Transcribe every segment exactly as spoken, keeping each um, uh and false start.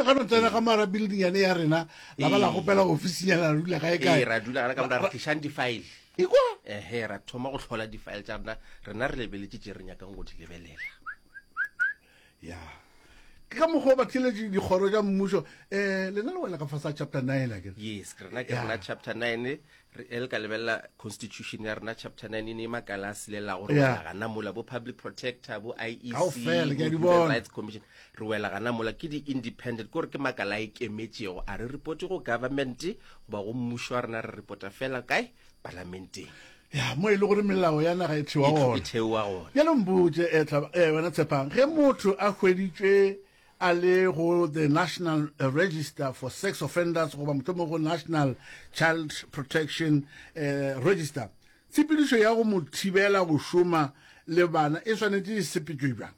Le ka no tsena ka mara building yane ya rena, la ba la gopela ofisinyana, la dula kae kae. Ee, ra dula gana ka mora, re tlišang di-file. Ekwa. Ehe, ra thoma go hlola di-file tša rena, rena re lebeletše tše re nyakang go di lebelela. Ya, ke ka mokgwa o ba theletše dikgoro tša mmušo. um lena le wela ka fase ga chapter nine, a kere? Yes, ke rena ke Yeah. rena chapter nine. Re e le ka lebelela constitution ya rena, chapter nine e ne makala a selelago, re Yeah. wela gana mola, bo public protector, bo I E C, Kaofela, ke a bo di Human bona. Rights Commission, re wela gana mola. Ke di-independent, ke gore ke makala a ikemetšego, a re reporte go government goba go mmušo wa rena, re reporta fela kae? Palamenteng. Ya, mo e le gore melao ya naga e thewa E gona. E thewa gona. Bjale mpotše, eh, Tlhaba- eh, wena Tshepang, ge motho a hweditšwe a le go the National Register for Sex Offenders goba mohlomongwe go National Child Protection eh, Register, tshepedišo ya go mo thibela go šoma le bana e swanetše e sepetšwe bjang?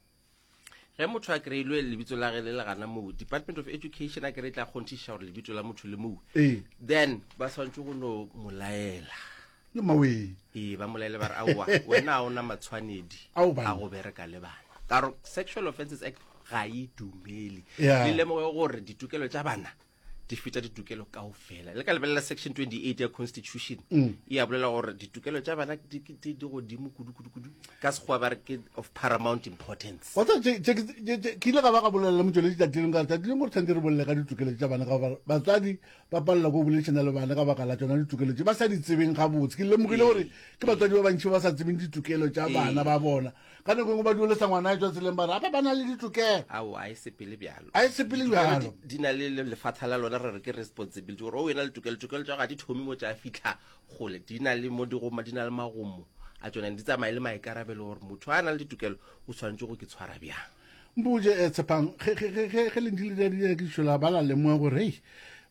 Ge motho a kry-ilwe lebitso la ge le le gana moo, Department of Education a kry e tla kgonthišiša gore lebitso la motho le moo, Ee. then ba swanetše go no mo laela. Le mawee. Ee, ba mo laele ba re aowa, wena a ona matshwanedi Ao, banna. a go bereka le bana, ka gore Sexual Offences Act ga e dumele. Yeah. Le lemoge gore ditokelo tša bana di feta ditokelo kaofela. Le ka lebelela section twenty-eight ya constitution, e a bolela gore ditokelo tša bana di di- di godimo kudu kudu kudu, ka sekgowa ba re ke of paramount importance. Wa tseba, tše- tše- tše- tše- ke ile ka ba ka bolela le motšweletši tšatši lengwe, ka re tšatši lengwe gore tshwanetse re bolele ka ditokelo tša bana, ka gore batswadi ba palelwa ke go boledišana le bana ka baka la tšona ditokelo tše ba sa di tsebeng gabotse. Ke lemogile gore ke batswadi ba bantši ba sa tsebeng ditokelo tša bana ba bona. Ka nako e nngwe ba duelesa ngwana a etswa tseleng, ba re apa ba na le ditokelo. Ao, a e sepele bjalo. A e sepele Ditokelo bjalo. di, di na le le lefatha la lona, re re ke responsibility, gore o wena le tokelo, tokelo tša gago ga di thome mo tša fitlha gole, di na le mo di goma, di na le magomo a tsona, di tsamaye le maikarabelo, gore motho a na le ditokelo o tshwanetse go ke tshwara bjang. Mpotše, eh, Tshepang, ge ge- ge- ge- ge le ntše le dira dinyakišišo, la ba la lemoga gore hei,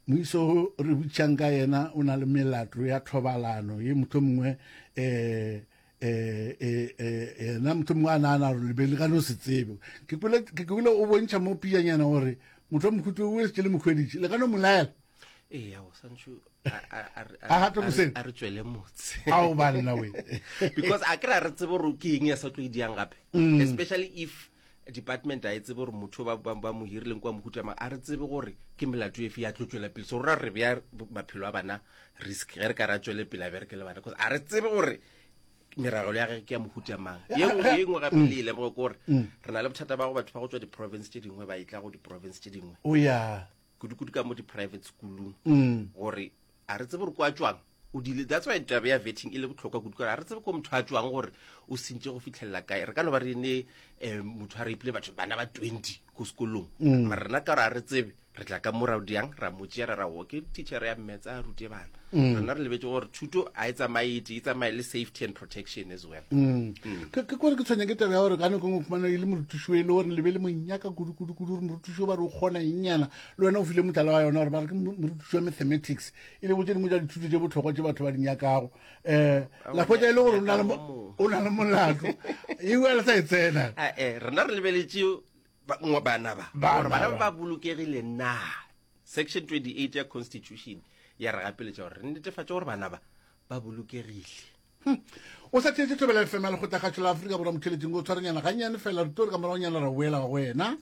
moiso o re botšang ka yena o na le melato ya thobalano ye, motho mongwe um yena motho mongwe a nagana gore lebe le ka no se tsebe. Ke kwele ke kwele o bontšha mo pijanyana gore motho wa mohuto o setse le mokhweditše, le ka no mo laela. Ee, ao santšho a- a- a re- A gate a re- moseng. a re tswele motse. Ao banna we. Because a kry a re tsebe gore ke eng ya sa tlo e diang gape, Mm. especially if department a e tsebe gore motho ba, ba, ba mo hirileng kwa mohuta mang, a re tsebe gore ke melato efe ya tlo tswela pele. So rora re bea maphelo a bana risk ge re ka ra tswele pele a bereke le bana, because a re tsebe gore meragelo ya gage ke ya mohuta mang. Ye nngwe ye nngwe gape le e lemoge ke gore re na le bothata ba go batho ba go tswa di-province tše dingwe ba etla go di-province tše dingwe, O ya kudu-kudu ka mo di-private schoolong, Mm. gore a re tsebe gore kwa tswang o dile. That's why taba ya vetting e le botlhokwa kudu, kore a re tsebe ko motho a tswang gore o sentše go fitlhelela kae. Re ka no ba re ne um motho a rapile batho bana ba twenty ko sekolong, mara rena ka gore a re tsebe, re tla ka morao diang ra mo tšea, ra ra o ke teacher ya mmetsa a rute bana. Rena re lebetse gore thuto a e tsamaye e tee, e tsamaye le safety and protection as well. ke ke kore ke tshwenya ke taba ya gore ka nako e nngwe o fumana e le morutiši o e le gore le be le monyaka kudu-kudu-kudu, gore morutiši o ba re o kgona ennyana, le wena o file motlhala wa yona gore ba re ke mo- morutiši wa mathematics, e le bo tše dingwe tša dithuto tše bohlokwa tše batho ba di nyakago, um la hwetša e le gore o na le mo- o na le molato eo a le sa e tsena. Ah, eh, rena re lebeletše ba- ngwa- bana ba Bana gore bana ba. ba ba bolokegile na. Section twenty-eight ya constitution ya re gapeletša gore re netefatše gore bana ba ba bolokegile. O sa theetše Thobela F M ya Lekgotlakgatšo la Afrika Borwa, motheletšeng o tshwarenyana gannyane fela, re tlo re ka moragonyana ra boela go wena.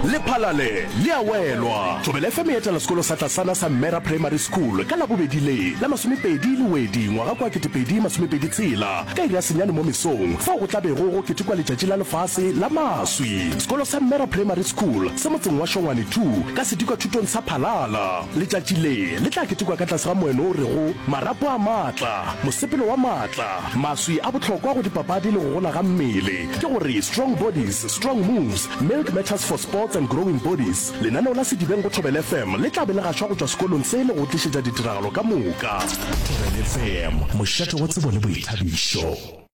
Lephalale le a welwa. Thobela F M e etela sekolo sa tlasana sa Mmera Primary School ka Labobedi le la masomepedi Lewedi ngwaga kwa ketepedi masomepedi tshela ka iri ya senyane mo mesong, fao go tla bego go ketekwa letšatši la lefase la maswi. Sekolo sa Mmera Primary School se motseng wa Šongwane two ka sedikwathutong sa Phalala. Letšatši le le tla ketekwa ka tlase ga moeno o rego Marapo a maatla, mosepelo wa maatla, maswi a bohlokwa go dipapadi le go gola ga mmele, ke gore Strong Bodies, Strong Moves, Milk Matters for Sports and Growing Bodies. Lenaneo la Sedibeng go Thobela F M le tla be le gašwa go tšwa sekolong se le go tlišetša ditiragalo ka moka. Thobela F M, mošate wa tsebo le boithabišo.